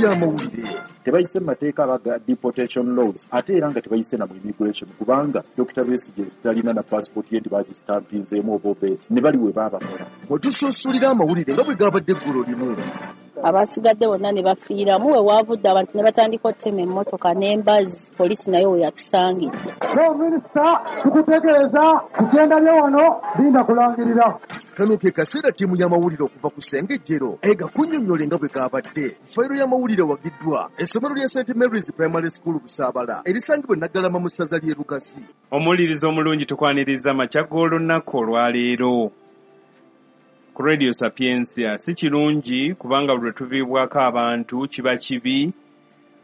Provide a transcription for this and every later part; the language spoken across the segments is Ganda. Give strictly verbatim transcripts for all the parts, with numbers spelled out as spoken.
Y'amawulire. Tebayise mu mateeka abaga deportation laws, ate era nga tebayise na mu immigration, kubanga Doctor Besigye talina na passport ye nti bagistampinzeemu oba obeeti ne bali we baabakola. Wetusunsulira amawulire nga bwe gabadde eggulo limu. Abasigadde bonna ne bafiiramu, we waavudde abantu ne batandika okutema emmotoka n'embazzi, poliisi nayo we yatusangidde. Minisita, tukutegeeza kukyendabye wano linda kulangirira. Kano ke kaseera ttiimu y'amawulire okuva ku Ssengejjero ega kunnyonnyola nga bwe gabadde. Fayiro y'amawulire wagiddwa essomero lya Saint Mary's Primary School Busaabala erisangibwa e Naggalama mu ssaza ly'e Lukasi. Omuwuliriza omulungi, tukwaniriza amakya g'olunaku olwaleero ku Radio Sapientia. Si kirungi kubanga buli lwe tuviibwako abantu kiba kibi,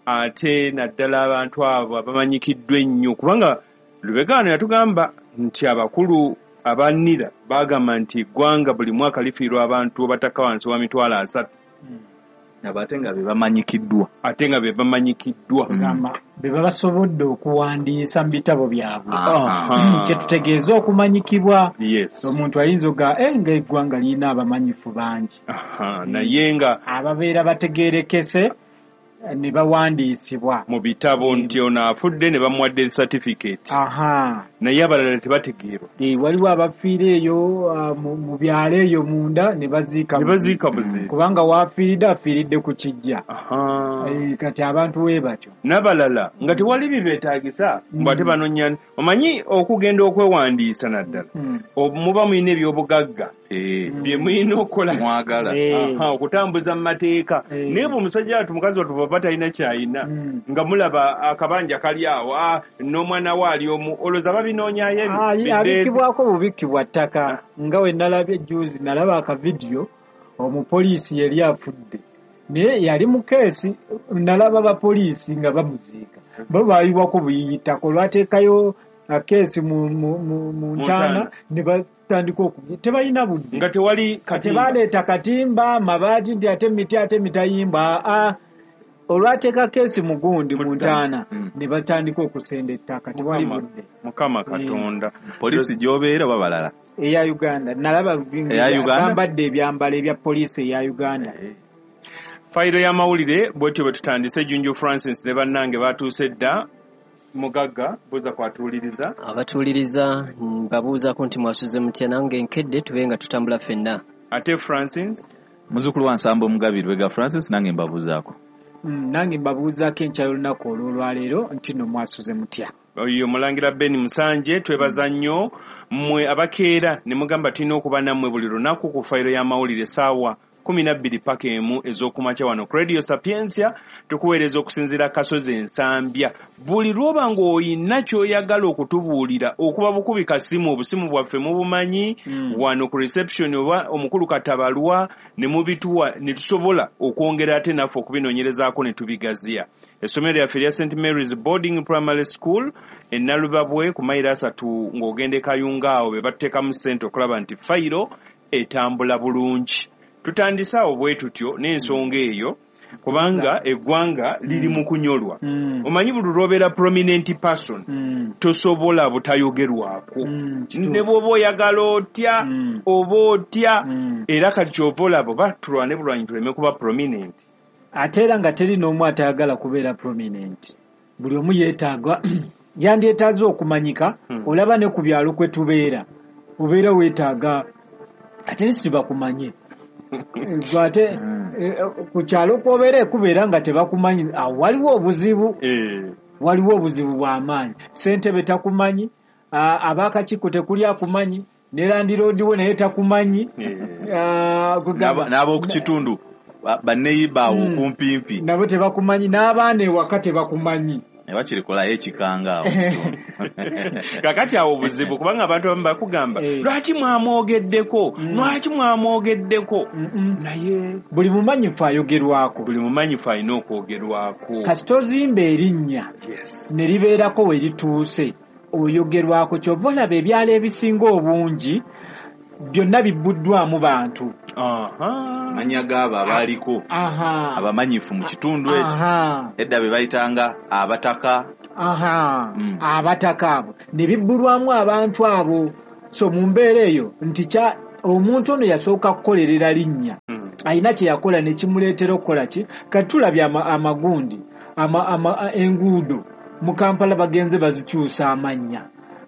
ate naddala abantu abo abamanyikiddwa ennyo, kubanga Lubega yatugamba nti abakulu abannira bagamba nti eggwanga buli mwaka lifiirwa abantu abatakka wansi wa mitwalo asatu. Abo ate nga be bamanyikiddwa. Ate nga be bamanyikiddwa. Gamba be babasobodde okuwandiisa mu bitabo byabwe. Aha. Kyetutegeeza okumanyikibwa. Yes. Omuntu ayinza oga eh, nga eggwanga lirina abamanyifu bangi. Aha, naye nga ababeera bategeerekese ne bawandiisibwa mu bitabo nti ono afudde ne bamuwa death certificate. Aha. Naye abalala tebategeerwa. Eh, waliwo abafiira eyo ah, mu mu byalo eyo munda ne baziika ne baziika buziisi. Kubanga waafiiridde afiiridde ku kijja. Aha. Eh, kati abantu we batyo. N'abalala nga tewali bibeetaagisa Mm. mbu ate banoonya, omanyi okugenda okwewandiisa naddala Mm. muba mulina ebyobugagga Eh, bye mulina okukola mwagala. Eh. Aha, okutambuza mu mateeka. Eh. Naye bwe omusajja watu mukazi wattu bw'aba talina kyayina Mm. nga mulaba akabanja kali awo, ah, n'omwana we ali omu, olowooza babinoonyayo ebyo? Ah, Bidde- abikkibwako bubikkibwa ttaka. Nga we nalabye juzi, nalaba akavidiyo, omupoliisi yali afudde naye yali mu keesi, nalaba bapoliisi nga bamuziika, bo bayiwako buyiyitako olwateekayo keesi mu, mu, mu, mu ntaana ntaana. Ne batandika okugi tebalina budde. Nga tewali katimba. Tebaleeta katimba mabaati nti ate miti ate mitayimba. Aa, olwateeka keesi mu gundi mu ntaana Mm. ne batandika okusenda ettaka, tewali Mukama- budde. Mukama Katonda. Poliisi gy'obeera oba balala? Eya Uganda nalaba. Eya Uganda? Bambadde ebyambalo ebya poliisi eya Uganda. Fayiro y'amawulire bwetyo bwe tutandise. Junju Francis ne bannange batuuse dda. Mugagga buuza kwatuwuliriza. Abatuwuliriza mbabuuzaako nti mwasuze mutya? Nange nkedde, tube nga tutambula ffenna. Ate Francis? Muzzukulu wa Nsambo Omugabi Lubega Francis, nange mbabuuzaako. Mm, nange mbabuuzaako enkya y'olunaku olw'olwaleero nti nno mwasuze mutya? Oyo Mulangira Ben Musanje. Twebaza nnyo mmwe abakeera ne mugamba tulina okuba nammwe buli lunaku ku fayiro y'amawulire saawa kumi na bbiri paka emu ez'okumakya wano ku Radio Sapientia. Tukuweereza okusinziira Kasozi Ensambya. Buli lw'oba ng'olina ky'oyagala okutubuulira, okuba bukubi kasimu, obusimu bwaffe mubumanyi. Mm. Wano ku reception oba omukulu Katabalwa ne mubituwa ne tusobola okwongera ate naffe okubinoonyerezaako ne tubigaziya. Essomero lyaffe erya Saint Mary's Boarding Primary School e Nalubabwe ku mayiro asatu ng'ogenda e Kayunga, awo be batuteekamu ssente okulaba nti fayiro etambula bulungi. Tutandise awo bwe tutyo n'ensonga eyo kubanga eggwanga liri mu kunyolwa. Mm. Omanyi buli lw'obeera prominent person Mm. tosobola butayogerwako. Mm, kituufu. Ne bw'oba oyagala otya Mm. oba otya. Mm. Era kati kyova olaba oba tulwane bulwanyi tuleme kuba prominent. Ate era nga teri n'omu atayagala kubeera prominent, buli omu yeetaaga yandyetaaze okumanyika. Hmm. Olaba ne ku byalo kwe tubeera, obeera weetaaga at least bakumanye. Gwe ate eh, ku kyalo kwobeera ekubeera nga tebakumanyi, awo waliwo obuzibu. Eh. Waliwo obuzibu bw'amaanyi. Ssentebe takumanyi, a- ab'akakiiko tekuli akumanyi, ne landiroodi we naye takumanyi. Eh. Ah, kugamba- N'abo- N'ab'oku kitundu ba- banneyiba awo Mm. okumpimpi nabo tebakumanyi, n'abaana ewaka tebakumanyi. Ne bakirikolayo ekikanga awo mu kitundu. Kakati awo obuzibu kubanga abantu abamu bakugamba, Eh. "Lwaki mwamwogeddeko? Mm. Lwaki mwamwogeddeko?" Mm-mm. Naye buli mumanyifu ayogerwako. Buli mumanyifu alina okwogerwako. Kasita ozimba erinnya Yes. ne libeerako we lituuse, oyogerwako. Kyova olaba ebyalo ebisinga obungi byonna bibbuddwamu bantu. Aha. Amannya gaabo abaaliko aha abamanyifu mu kitundu ekyo aha edda be bayitanga abataka. aha Mm. Abataka abo ne bibbulwamu abantu abo. So mu mbeera eyo nti kya omuntu ono yasooka kukolerera linnya. Mm. Alina kye yakola ne kimuleetera okukola ki? Kati tulabye amagundi ama, ama, enguudo mu Kampala bagenze bazikyusa amannya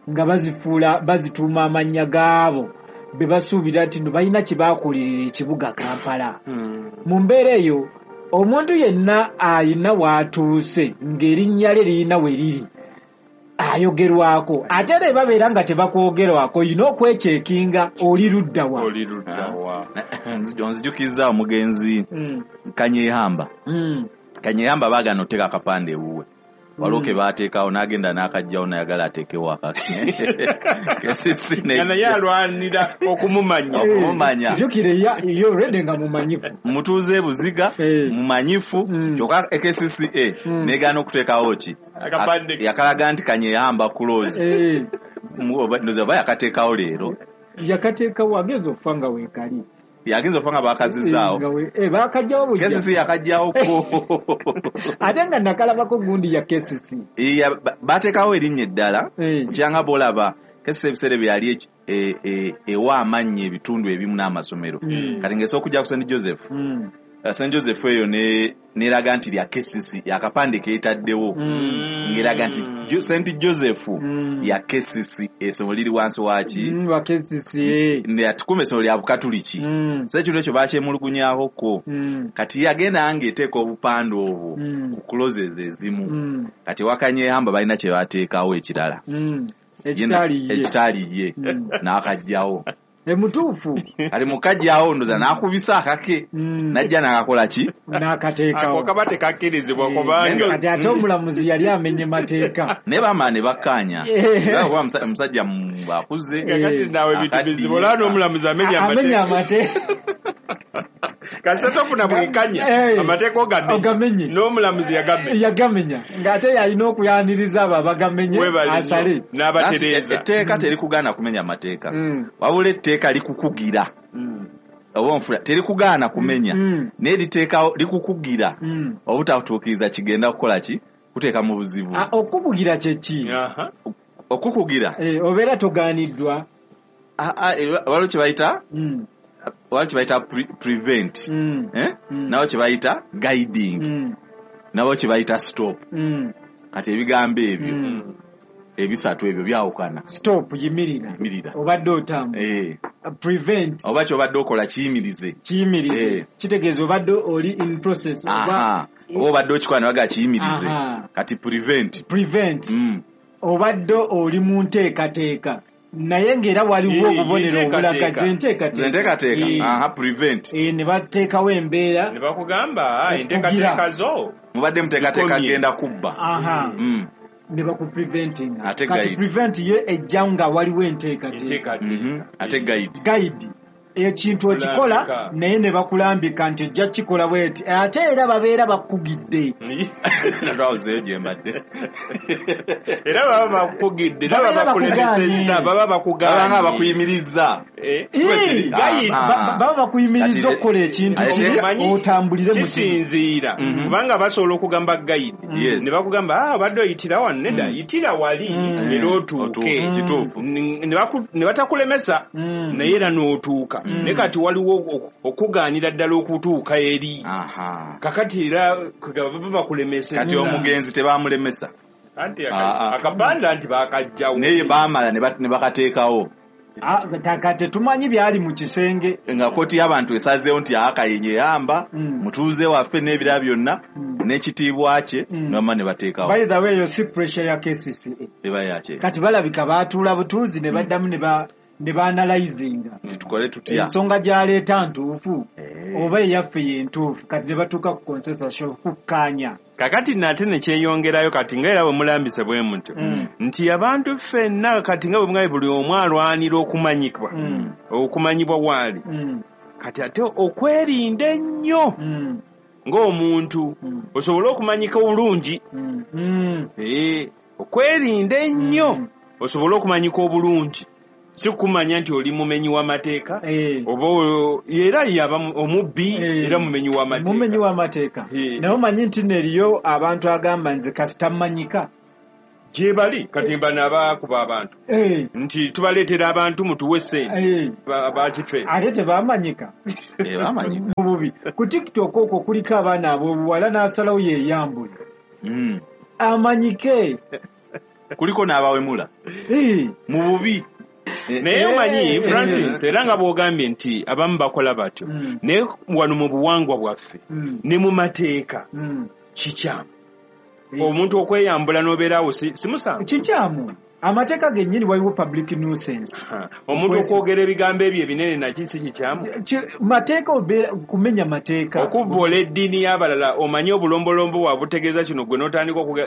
nga bazifuula bazituuma amannya gaabo be basuubira nti no balina kye baakolera ekibuga Kampala. Mm. Mu mbeera eyo omuntu yenna ayina w'atuuse ng'erinnya lye lirina we liri ayogerwako, ate era babeera nga tebakwogerwako, olina okwekyekinga oli ludda wa. Oli ludda wa. Nzijukiza omugenzi mm. Kanyehamba. Mm. Kanyehamba baagaana oteeka akapande ewuwe. Waliwo ke baateekawo n'agenda n'akajjawo n'ayagala ateekewo akake. Naye alwanira okumumanya. Okumumanya. Jjukira ye already nga mumanyifu. Mutuuze e Buziga, mumanyifu, kyokka K C C A negaana okuteekawo ki? Yakalaga nti Kanyehamba close. Ndowooza oba yakateekawo leero. Yakateekawo ageza okufa nga weekali. Yagenza okufa nga baakazizaawo. Baakajjawo bujja. K C C yakajjawo ko. Ate nga nakalabako gundi ya K C C. Bateekawo erinnya eddala. Kyanga bw'olaba K C C ebiseera bye yali ewa amannya ebitundu ebimu n'amasomero. Kati ng'esooka okujja ku Saint Joseph. Saint Joseph eyo n'eraga nti lya K C C, akapande keetaddewo. Ng'eraga nti Saint Joseph ya K C C, essomero liri wansi waaki? Wa K C C. Atukuuma essomero lya Bukatuliki. So ekintu ekyo baakyemulugunyaako. Kati yagenda ng'eteeka obupande obwo ku closes ezimu. Kati Wakanyehamba balina kye bateekawo ekirala. Ekitali ye. N'akajjawo. Emutuufu. Kati mukajjawo ndoza n'akubisa akake. Najja n'akakola ki? N'akateekawo. Ako kaba tekakkirizibwa kubanga. Kati ate omulamuzi yali amenye mateeka. Naye baamala ne bakkaanya. Kuba omusajja akuze. Kakati naawe ebintu bizibu olaba n'omulamuzi amenya amateeka. Kasita tofuna bwenkanya amateeka ogamenye n'omulamuzi yagamenya. Yagamenya ng'ate yalina okuyaniriza abo abagamenye asale. N'abatereeza. Etteeka terikugaana kumenya amateeka. Wabula etteeka likukugira. Oba onfula terikugaana kumenya. Naye liteekawo likukugira obutatuukiriza kigenda kukola ki? Kuteeka mu buzibu. Okukugira kye ki? Okukugira. Obeera togaaniddwa. Waliwo kye bayita? Waliwo kye bayita prevent. Mm. Eh? Mm. Nabo kye bayita guiding. Mm. Nabo kye bayita stop. Mm. Kati ebigambo ebyo mm. ebisatu ebyo byawukana. Stop yimirira. Yimirira. Obadde otambula. Eh. Prevent. Oba ky'obadde okola kiyimirize. Kiyimirize. Eh. Kitegeeza obadde oli in process. Aha. Oba obadde okikola ne baga kiyimirize. Kati prevent. Prevent. Mm. Obadde oli mu nteekateeka. Naye ng'era waliwo obubonero obulaga enteekateeka. Aha, prevent. Eh, ne bateekawo embeera. Ne bakugamba enteekateeka zo. Mubadde muteekateeka genda kubba. Aha. Mm. Ne bakupreventinga. Kati prevent ye ejja nga waliwo enteekateeka. Ate guide. Guide. Ekintu okikola naye ne bakulambika nti ojja kikola bweti. Ate era babeera bakugidde. Natwawuzeeyo gye mbadde. Era baba bakugidde, baba bakulemesezza, baba bakugaanye. Baba nga bakuyimiriza. Baba bakuyimiriza okukola ekintu otambulire mu kisinziira. Kubanga basobola okugamba guide. Ne bakugamba ah obadde oyitira wano nedda yitira wali era otuuke. Kituufu. Ne batakulemesa naye era n'otuuka. Naye kati waliwo okugaanira ddala okutuuka eri. Kakati era baba bakulemesezza. Kati omugenzi tebamulemesa. Anti akapande anti bakajjawo. Naye baamala ne bakateekawo. Kati tetumanyi byali mu kisenge. Nga kkooti y'abantu esazeewo nti Kanyehamba mutuuze waffe n'ebirala byonna n'ekitiibwa kye ne ne bateekawo. By the way, yo si pressure ya K C C A. Eba yakye. Kati balabika baatuula butuuzi ne baddamu ne ba ne baanalyzinga. Tukole tutya. Ensonga gy'aleeta ntuufu oba eyaffe ye ntuufu kati ne batuuka ku consensus okukkaanya. Kakati nate ne kyeyongerayo kati nga era bwe mulambise bwe mutyo nti abantu ffenna kati nga bwe mwayi buli omu alwanira okumanyibwa okumanyibwa waali kati ate okwerinda ennyo ng'omuntu osobole okumanyika obulungi okwerinda ennyo osobole okumanyika obulungi si kumanya nti oli mumenyi w'amateeka oba era yaba omubbi era mumenyi w'amateeka mumenyi w'amateeka naye omanyi nti neriyo abantu agamba nze kasita mmanyika Gye bali kati bano abakuba abantu Eh, nti tubaleetera abantu mutuwe ssente eh. bakife Ate tebamanyika Eh, bamanyi. mu bubi. Ku TikTok okwo kuliko abaana ab'obuwala n'asalawo yeeyambule Mm. amanyike. Kuliko n'abawemula Eh, mu bubi. Eh, Naye omanyi Eh. Francis, era nga bw'ogambye nti abamu bakola batyo, Mm. naye wano mu buwangwa bwaffe mm, ne mu mateeka mm. kikyamu Eh. omuntu okweyambula n'obeeraawo si si musango. Kikyamu, amateeka gennyini waliwo public nuisance. Ha, omuntu Okwesi- okwogera ebigambo ebyo ebinene naki si kikyamu? Ki- mateeka obeera kumenya mateeka. Okuvvoola eddiini y'abalala, omanye obulombolombo bwabwe butegeeza kino, gwe n'otandika okuga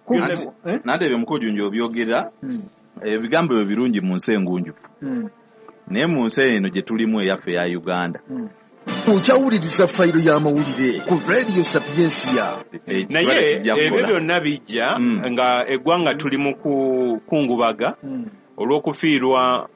Ku- Anti- Eh? Nate ebyo mukujunja obyogera, Mm, ebigambo ebyo birungi mu nsi engunjufu, mm, naye mu nsi eno gye tulimu eyaffe eya Uganda, mm. Okyawuliriza fayiro y'amawulire ku Radio Sapiensia. Eh, Naye ekibala kijja ebyo kukola. byonna bijja Mm. nga eggwanga tuli mu kukungubaga Mm, olw'okufiirwa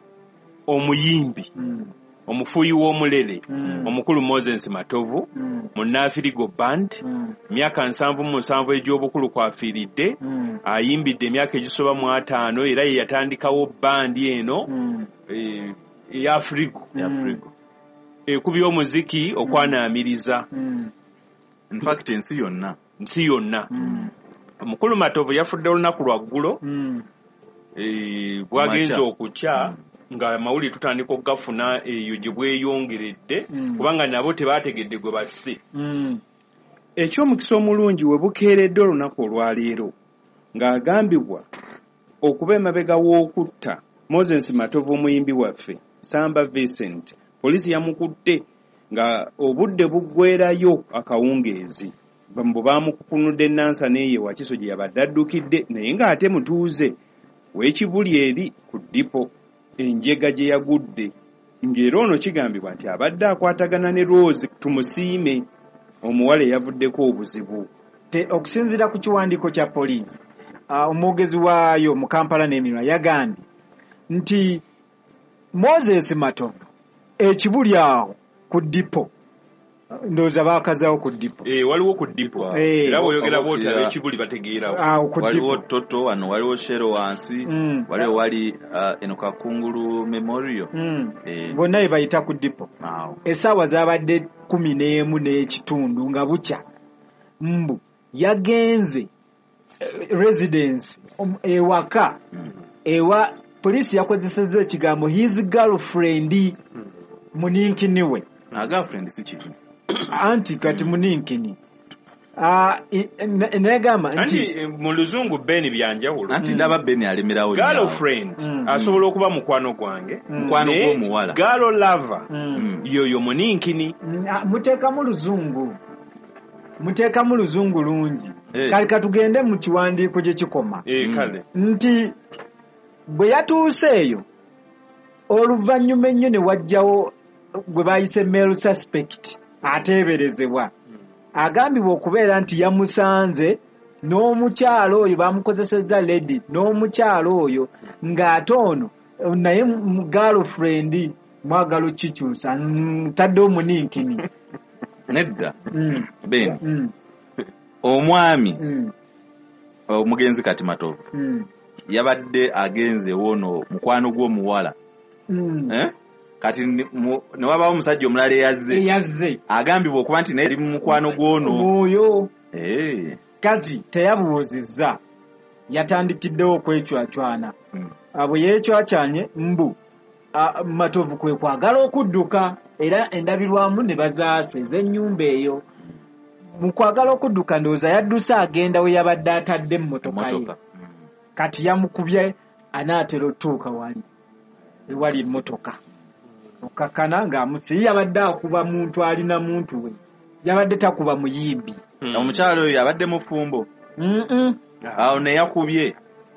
omuyimbi mm, omufuuyi w'omulere Mm. omukulu Moses Matovu mm, mu Nafirigo Band, mm, myaka nsanvu mu musanvu egy'obukulu kwafiiridde. mm, Ayimbidde emyaka egisoba mu ataano, era ye yatandikawo bandi eno mm, eh, eya Afrigo Ya Afrigo. ekubya omuziki okwanaamiriza mm, In fact ensi yonna. Nsi yonna. mm, Omukulu Matovu yafudde olunaku lwa ggulo, mm. eh, bwagenze Makya. okukya nga amawulire tutandika okugafuna eyo gye bweyongeredde, Mm. kubanga nabo tebategedde gwe basse. Mm. Ekyomukisa omulungi, we bukeeredde olunaku olwaleero ng'agambibwa okuba emabega w'okutta Moses Matovu omuyimbi waffe Samba Vincent, poliisi yamukutte nga obudde buggwerayo akawungeezi. Bwe baamukukunudde Nansa n'eyo Wakiso gye yabadde addukidde, naye ng'ate mutuuze w'ekibuli eri ku ddipo enjega gye yagudde, ng'era ono kigambibwa nti abadde akwatagana ne Rose Tumusiime, omuwala eyavuddeko obuzibu. Te- okusinziira ku kiwandiiko kya poliisi, ah, omwogezi waayo mu Kampala n'emirwa yagambye nti Moses Matovu ekibuli awo ku ddipo, ndowooza baakazaawo ku ddipo. Eh, waliwo ku ddipo Eh. era bw'oyogera bw'oti Oba- ab'ekibuli bategeerawo. Awo ku Waliwo ddipo. Toto wano, waliwo Shero wansi, Mm. waliwo wali uh, eno Kakungulu Memorial. Mm. Eh. Bonna be bayita ku ddipo. Awo. Essaawa zaabadde kumi n'emu n'ekitundu nga bukya, mbu yagenze eh, residence om- ewaka Mm. ewa poliisi yakozesezza ekigambo his girlfriend, muninkini we. Ah, girlfriend si kibi. Anti kati muninkini. Ah, i- ne- negamba Anti nti eh, mu luzungu Ben byanjawulo. Anti ndaba Ben alemerawo nnyo awo. Girlfriend Mm. asobola okuba mukwano gwange, Mm. Mukwano naye gw'omuwala. girl lover Mm. Mm. yoyo muninkini. Mm, ah, muteekamu luzungu, muteekamu luzungu lungi. Eh. Kale katugende mu kiwandiiko gye kikoma Eh, Mm. kale nti bwe yatuuse eyo oluvannyuma ennyo ne wajjawo gwe bayise male suspect ateeberezebwa, agambibwa okubeera nti yamusanze n'omukyalo oyo, bamukozesezza lady n'omukyalo oyo, ng'ate ono naye mu girlfriend mwagala okikyusa ntadde omuninkini. Nedda Mm, Ben, mm, omwami mm, omugenzi kati Matovu mm, yabadde agenze wono mukwano gw'omuwala, mm. eh? Kati ne mu- ne wabaawo omusajja omulala eyazze Eyazze agambibwa okuba nti naye ali mu mukwano gw'ono. Oyo. Eh. Kati teyabuuzizza, yatandikiddewo okwecwacwana. Mm. Ah, bwe yeecwacwanye mbu ah, Matovu kwe kwagala okudduka, era endabirwamu ne bazaasa ez'ennyumba eyo. Mu kwagala okudduka ndowooza yadduse agenda we yabadde atadde emmotoka ye. Motoka. Kati yamukubye anaatera otuuka wali ewali emmotoka, okkakkana ng'amusi yabadde akuba muntu alina muntu we, yabadde takuba muyimbi. Mm. Omukyala oyo abadde mufumbo? Mm-mm. Awo ne yakubye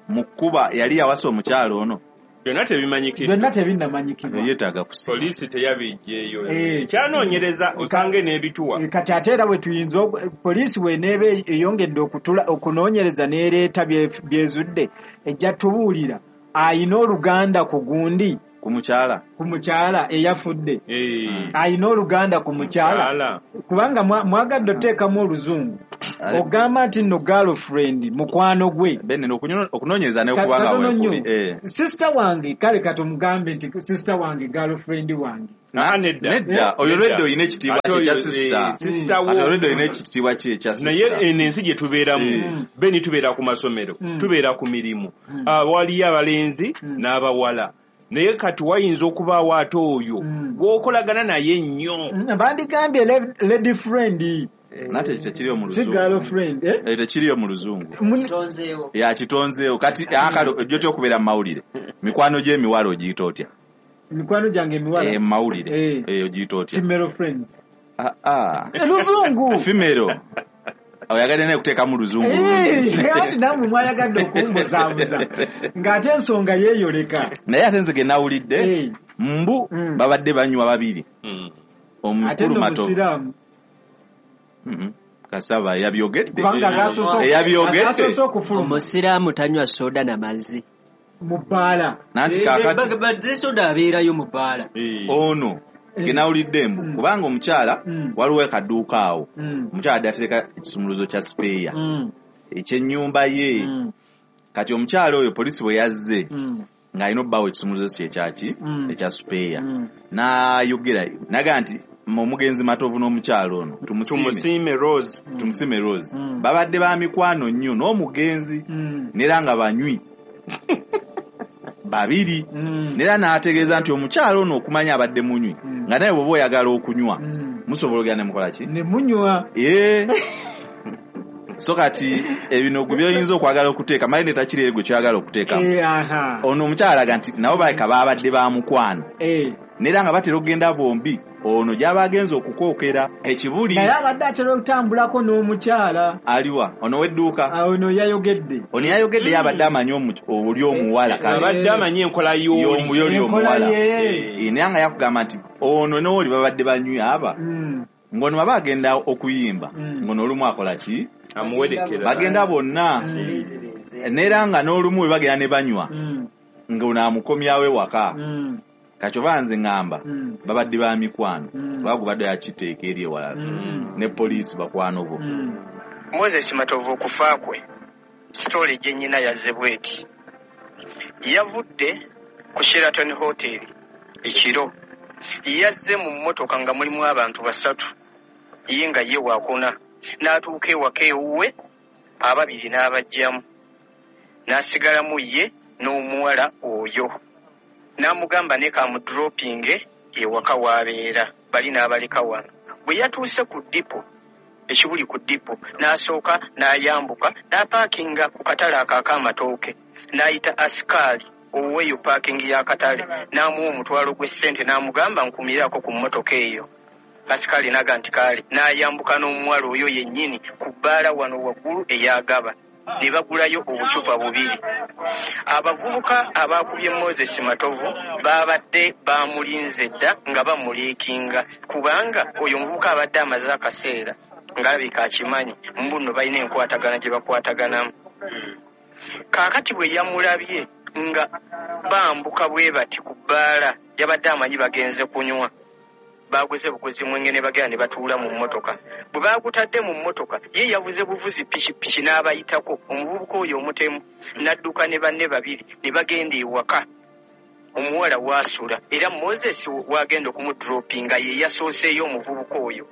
mu kkuba yali yawasa omukyala ono? Byonna tebimanyikiddwa. Byonna tebinnamanyikibwa. Yeetaaga kusiba. Poliisi teyabijjeeyo, Eh. kyanoonyereza osange n'ebituwa. Eh, kati ate era bwe tuyinza oku- poliisi bw'eneeba eyongedde okutula okunoonyereza n'ereeta bye- byezudde, ejja tubuulira ayina oluganda ku gundi, Ku mukyala. ku mukyala eyafudde. Eh, Ayina oluganda ku mukyala, mukyala. kubanga mwa- mwagadde oteekamu oluzungu. Ogamba nti no girlfriend mukwano gwe. Bene okunoonyereza ne kubanga weekuli. Eh. Sister wange kale katumugambe nti sister wange girlfriend wange. Ah, nedda. Nedda. Oyo already olina ekitiibwa kye ekya sister. Sister wo. Ate already olina ekitiibwa kye ekya sister. Naye eno ensi gye tubeeramu, Beni tubeera ku masomero, tubeera ku mirimu. Waliyo abalenzi n'abawala. Naye kati wayinza okubaawo ate oyo gw'okolagana naye nnyo. Bandigambye lady friend. Nate ekyo tekiriyo mu luzungu. Si girlfriend, eh? Ekyo tekiriyo mu luzungu. Kitonzeewo. Ya kitonzeewo. Kati akalo ojja otya okubeera mu mawulire? Mikwano gy'emiwala ogiyita otya? Mikwano gyange emiwala? Eh, mu mawulire. Eh, ogiyita otya? Female friends. Ah, ah. Luzungu. Female. Oyagadde naye kuteekamu luzungu. Eh, ati nammwe mwayagadde okumbuzaabuza. Ng'ate ensonga yeeyoleka. Naye ate nze ge nawulidde, mbu babadde banywa babiri. Omukulu Matovu. Kasaba yabyogedde. Yabyogedde. Omusiraamu tanywa soda na mazzi. Mu bbaala. Nanti kaakati. Badde soda abeerayo mu bbaala. Ono ge nawulidde mbu kubanga omukyala waliwo akaduuka awo. Omukyala adde atereka ekisumuluzo kya sipeeya ekyennyumba ye. Kati omukyala oyo poliisi bwe yazze ng'alina obbawo ekisumuluzo kye ekyaki ekya sipeeya. N'ayogera n'agamba nti omugenzi Matovu n'omukyala ono Tumusiime Rose, Tumusiime Rose babadde ba mikwano nnyo n'omugenzi n'era nga banywi babiri. N'era n'ategeeza nti omukyala ono okumanya abadde munywi nga naye bw'oba oyagala okunywa musobola ogenda ne mukola ki? Ne munywa. Eh. So kati ebino gwe by'oyinza okwagala okuteeka maye netakiri eri gwe ky'oyagala okuteekamu. Ono omukyala alaga nti nabo baleka babadde ba mukwano. N'era nga batera okugenda bombi ono gy'aba agenze okukookera ekibuli. Naye abadde atera okutambulako n'omukyala. Aliwa? Ono w'edduuka? Ono yayogedde. Ono yayogedde ye abadde amanyi oli omuwala. Abadde amanyi enkola y'oli omuwala. Naye nga yakugamba nti ono n'oli babadde banywi aba. Ng'ono baba agenda okuyimba ng'ono olumu akola ki? Amuwerekera. Bagenda bonna. N'era nga n'olumu bwe bagenda ne banywa ng'ono amukomyawo ewaka. Kati oba nze ŋŋamba babadde ba mikwano bagubadde yakiteeka eri ewalala ne poliisi bakwano bo. Moses Matovu okufa kwe sitole gye nnyina yazze bw'eti. Yavudde ku Sheraton Hotel ekiro. Yazze mu mmotoka nga mulimu abantu basatu ye nga ye waakuna. N'atuuka ewaka ewuwe ababiri n'abajjamu n'asigalamu ye n'omuwala oyo. N'amugamba ne kamudropinge ewaka w'abeera bali n'abaleka wano. Bwe yatuuse ku ddipo ekibuli ku ddipo n'asooka n'ayambuka n'apaakinga ku katale ako ak'amatooke n'ayita asikaali ow'eyo paakingi y'akatale n'amuwa omutwalo gw'essente n'amugamba nkumirako ku mmotoka eyo. Asikaali n'aga nti kaale n'ayambuka n'omuwala oyo yennyini ku bbaala wano waggulu ey'agaba ne bagulayo obucupa bubiri. Abavubuka abaakubye Moses Matovu babadde bamulinze dda nga bamuliikinga kubanga oyo omuvubuka abadde amaze akaseera ng'alabika akimanyi mbu nno balina enkwatagana gye bakwataganamu. Kaakati bwe yamulabye nga bambuka bwe bati ku bbaala yabadde amanyi bagenze kunywa. Baguze buguzi mwenge ne bagenda ne batuula mu mmotoka. Bwe baagutadde mu mmotoka ye yavuze buvuzi pikipiki n'abayitako omuvubuka oyo omutemu n'adduka ne banne babiri ne bagenda ewaka omuwala waasula era Moses wagenda okumudropinga ye yasooseeyo omuvubuka oyo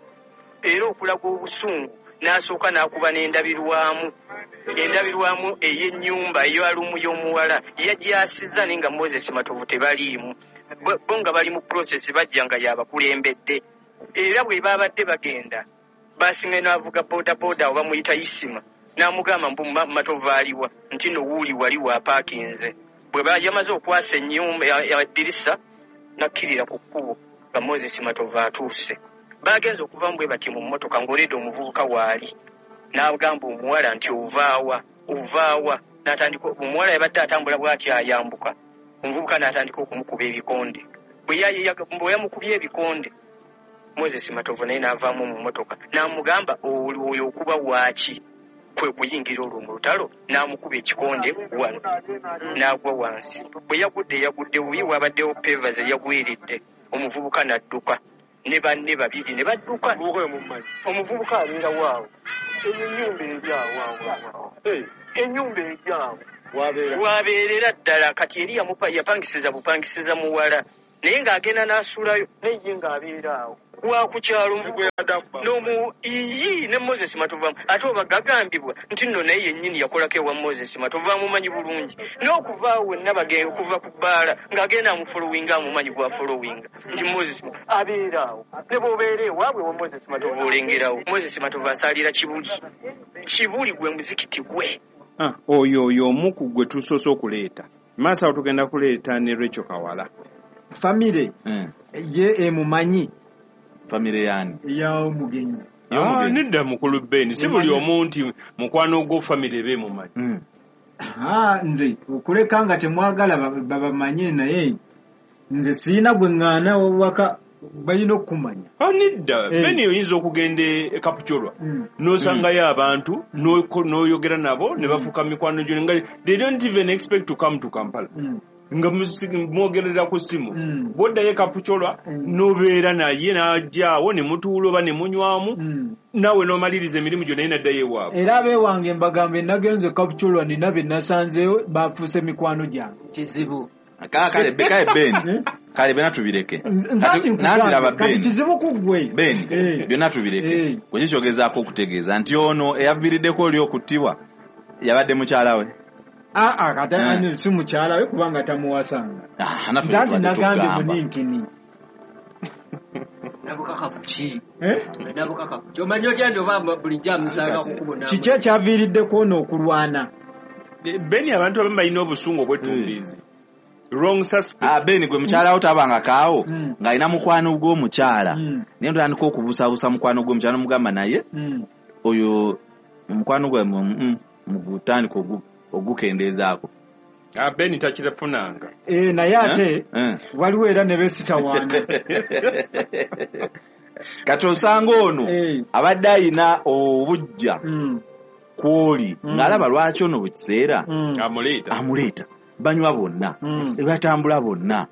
era okulaga obusungu n'asooka n'akuba n'endabirwamu endabirwamu ey'ennyumba ey'alumu y'omuwala yagyasizza naye nga Moses Matovu tebaliimu. Bo nga bali mu process bajja nga yabakulembedde era bwe babadde bagenda basinga n'avuga boda boda oba muyita Isima n'amugamba mbu Matovu aliwa nti no wuuli wali wapaakinze. Bwe yamaze okwasa ennyumba eddirisa n'akkirira ku kkubo nga Moses Matovu atuuse. Bagenze okuva bwe bati mu mmotoka ng'oledde omuvubuka waali n'agamba omuwala nti ovaawa ovaawa n'atandika omuwala yabadde atambula bw'ati ayambuka omuvubuka n'atandika okumukuba ebikonde. Bwe yamukubye ebikonde Moses Matovu naye n'avaamu mu mmotoka n'amugamba oyo okuba waaki kwe kuyingira olwo mu lutalo n'amukuba ekikonde wano n'agwa wansi. Bwe yagudde yagudde bubi wabaddewo pevas eyagwiridde omuvubuka n'adduka ne banne babiri ne badduka. Omuvubuka abeera waawo Ennyumba eri awo awo. Ennyumba eri awo. Wabeerera ddala kati eri yapangisiza bupangisiza muwala. Naye ng'agenda n'asulayo naye ye ng'abeera awo. Wa ku kyalo n'omu iyi ne Moses Matovu ate oba gagambibwa nti nno naye yennyini yakolako ewa Moses Matovu amumanyi bulungi n'okuva awo wenna bagenda okuva ku bbaala ng'agenda amufolowinga amumanyi gwafolowinga nti Moses abeera awo ne bw'obeera ewaabwe wa Moses Matovu olengerawo. Moses Matovu asaalira Kibuli. Kibuli gwe muzikiti gwe. Oyo oyo omu ku gwe tusoose okuleeta. Maaso awo tugenda kuleeta ne Rachel Kawala. Famire ye emumanyi. Famire yani ya omugenzi. Ah, nedda mukulu Ben si buli omu nti mukwano gwo famire be mumanyi. Mm. Ah, nze okuleka nga temwagala babamanye naye nze sirina gwe ŋŋaana waka balina okumanya. Ah, nedda hey. Ben oyinza okugenda e Kapchorwa mm. n'osangayo mm. abantu n'oyogera nabo ne bafuuka mikwano gyo nga they don't even expect to come to Kampala. Mm. Nga mwogerera ku ssimu mm. bw'oddayo e Kapchorwa mm. n'obeera naye n'ajjaawo ne mutuula oba ne munywamu mm. naawe n'omaliriza emirimu gyo naye n'addayo ewaabwe. Era abeewange mbagambe nagenze Kapchorwa nina be nasanzeeyo bafuuse mikwano gyange. Kizibu. Kale kale Ben kale byonna tubireke. Kati kizibu ku ggwe Ben byonna tubireke. Gwe kikyogezaako okutegeeza nti ono eyaviiriddeko oli okuttibwa yabadde mukyala we. Ah ah kati ani si mukyala we kubanga tamuwasanga. Ah nati nagambye muninkini. Nabukakafu ki? Eh? Nabukakafu. Omanyi otya nti oba bulijjo amusanga kukubona. Kiki ekyaviiriddeko ono okulwana? Ben abantu abamu balina obusungu obwettumbiizi. Wrong suspect. Ah Ben gwe mukyala wo tabanga kaawo mm. ng'alina mukwano gw'omukyala. Mm. Naye ntandika okubuusabuusa mukwano gw'omukyala n'omugamba naye mm. oyo mukwano gwe mm, mugutandika ogu ogukendeezaako. Ah Ben takirafunanga. Eh naye ate eh? waliwo era ne beesitawaana. Kati osanga ono eh. abadde ayina obujja mm. kwoli mm. ng'alaba lwaki ono buli kiseera mm. amuleeta amuleeta banywa bonna mm. batambula bonna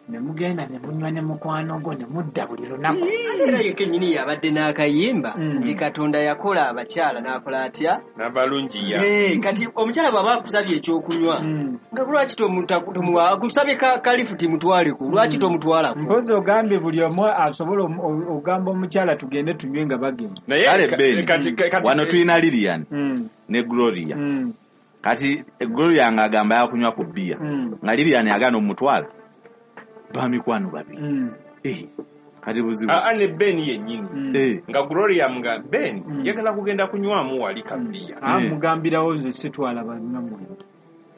ne mugenda ne munywa ne mukwano gwo ne mudda buli lunaku. Era ye kennyini yabadde n'akayimba Mm. nti Katonda yakola abakyala n'akola atya n'abalungiya. Eh, kati omukyala bw'aba akusabye ekyokunywa Mm. nga lwaki tomuwa akusabye kalifuti mutwaleko lwaki tomutwalako? Mpozi ogambye buli omu asobola ogamba omukyala tugende tunywe nga bagenda. Naye kale Ben kati kati wano tulina Lilian Mm. ne Gloria. Mm. Kati Gloria ng'agamba yakunywa ku bbiya Mm. nga Lilian agaana omutwala bamikwano babiri. Mm. Eh, kati buzibu. Ah ne Ben yennyini. Mm. Eh. Nga Gloria mga Ben Mm. njagala kugenda kunywamu wali kabiya. Ah Eh. mugambirawo nze sitwala bannamwe.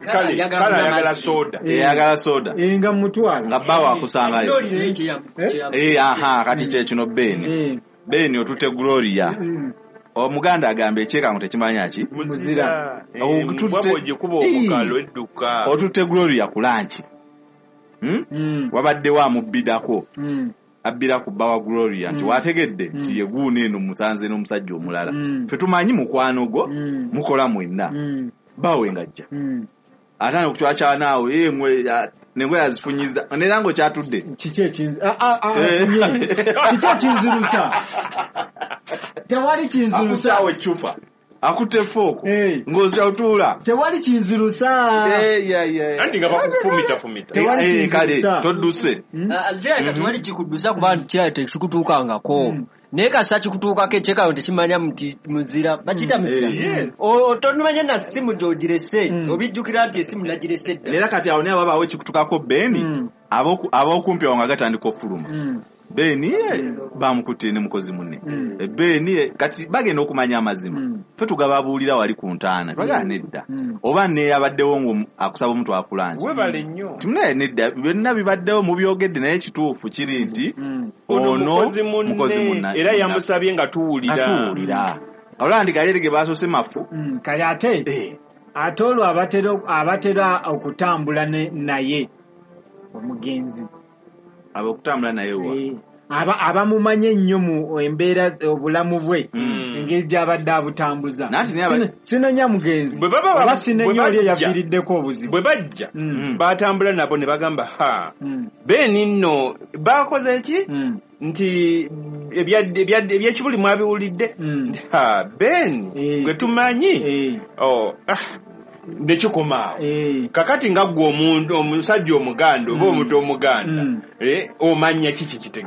Kale kale ayagala soda. Eh, ayagala soda. Eh nga mutwala. Nga bbawo akusangayo. Eh? Eh aha kati kye kino Ben. Eh. Ben otute Gloria. Mm. Omuganda agamba ekyekango tekimanya ki? Muzira. Otutte ogikuba omukalo edduka. Otutte Gloria ku lunch. Hmm? Mm. Wabaddewo amubbidako. Mm. Abbira ku bba wa Gloria nti Mm. wategedde Mm. nti ye guuno eno musanze n'omusajja omulala. Mm. Ffe tumanyi mukwano gwo Mm. mukola mwenna. Mm. Bbaawe ng'ajja. Mm. Atandika okucwaca naawe ye ngwe n'engoye azifunyiza neera ng'okyatudde. Kiki ekinzi ah ah ah Eh. kiki ekinzirusa? Tewali kinzirusa. Akutte awo eccupa. Akutte fooko. Eh. Ng'ozira otuula. Tewali kinzirusa. Eh, yeah, yeah. Anti nga bakufumita fumita. Tewali Eh, kale kinzirusa. todduse. Mm. Kirabika tewali kikuddusa kuba kirabika tekikutuukangako. Mm. Naye kasita kikutuukako ekyekano tekimanya nti muzira bakiyita muzira. Yes. Otomanya na ssimu gy'ogirese Mm. obijjukira nti essimu nagirese dda. Era kati awo naye wabaawo ekikutukako Ben Mm. ab'okumpi awo nga gatandika ofuluma. Mm. Ben bamukutte ne mukozi munne. Mm. Ben kati bagenda okumanya amazima. Mm. Ffe tugababuulira wali ku ntaana. Twagala nedda. Mm. Oba neyabaddewo ng'omu akusaba omuntu akulanje. Webale nnyo. Timunaye nedda byonna bibaddewo mubyogedde naye ekituufu kiri nti Mm. Ono ono mukozi munne mukozi munne era yamusabye nga tuwulira. nga tuwulira. Olaba nti gali ge basoose mafu. Mm. Kale ate Eh, ate olwo abatera abatera okutambula ne naye omugenzi. ab'okutambula naye wa. Eh, aba abamumanye ennyo mu embeera obulamu bwe Mm. engeri gy'abadde abutambuza. Nanti naye aba- Sine- Sinenya mugenzi Bwe baba oba bwe sinenya oli bajja. eyaviiriddeko obuzibu. Bwe bajja Mm. batambula nabo ne bagamba ha Mm. Ben nno bakoze ki Mm. nti ebya- ebya- ebyekibuli mwabiwulidde?" Mm. Ha, Ben Eh. gwe tumanyi. Eh. Oh, ah, nekikoma awo. Eh. Kakati nga ggwe omuntu omusajja omuganda oba Mm. omuntu omuganda, Mm. eh, omanya kiki kitegeeza?